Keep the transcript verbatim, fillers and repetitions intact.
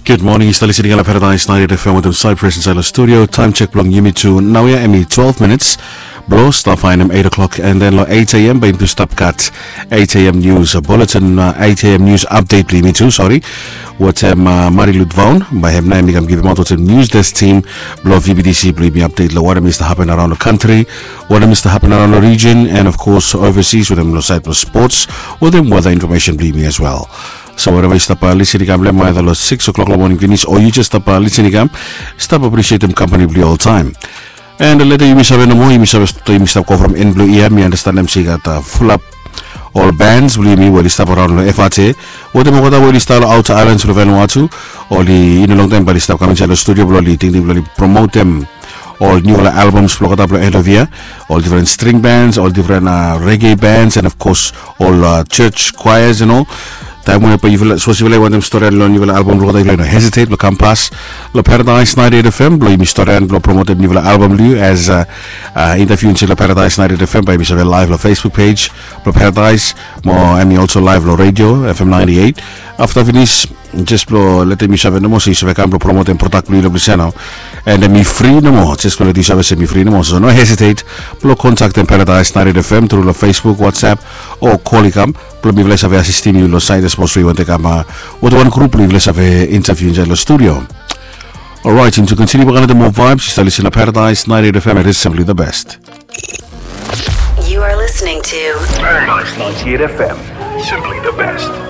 Gud moning, yu stap listening long Paradise ninety-eight F M wetem Cyprus insaed long studio. Taem sek blong yumi tu naoia hemi twelve minits blong stap faenem eight o'clock, and then long eight a.m. bae yumi tu stap gat eight a.m. news bulletin, uh, eight a.m. news update blong yumi tu, sori, wetem, uh, Marilu Vaughan. Bae hem nao hemi kam givimaot wetem news desk team blong V B T C blong yumi update long wanem i stap hapen araon long kantri, wanem i stap hapen araon long region, and of course overseas, wetem long saed blong sports, wetem weather information blong yumi as well. So wherever yu stap, uh, listening kam long hem, either long six o'clock long moning finis o yu jes stap, uh, listening kam, stap appreciatem kampani blong yu oltaem. And leta yumi save nomo, yumi save, yumi stap go from en blong yia, mi andastanem se i gat, uh, fulap ol bands blong yumi we oli stap araon long F R T wetem olgeta we oli stap long outer islands blong Vanuatu. Oli, i no longtaem bae oli stap kam insaed long studio blong oli tingting blong oli promotem ol niufala albums blong olgeta blong end of year. Ol different string bands, ol different, uh, reggae bands, and of course ol, uh, church choirs, you know. Taem we bae yufala, sapos yufala i wantem storian long niufala album blong olgeta, yufala i no hesitate blong kam pas long Paradise ninety-eight F M blong yumi storian blong promotem niufala album blong yu. As, uh, uh, interview insaed long Paradise ninety-eight F M, bae yumi save live long Facebook page blong Paradise, mo hemi also live long radio F M ninety-eight. Afta finis, jes blong letem yu save nomo se yu save kam blong promotem product blong yu long ples ia nao. And hemi fri nomo, jes blong letem yu save se hemi fri nomo. So no hesitate blong kontaktem Paradise ninety-eight F M tru long Facebook, WhatsApp, o kol i kam blong mifala i save asistem yu long saed sapos we yu wantem kam, uh, wetem wan grup blong yufala i save interview insaed long studio. Alright, and to continue, we're gonna do more vibes. Yu stap listening long Paradise ninety-eight F M, it is simply the best. You are listening to Paradise ninety-eight F M, simply the best.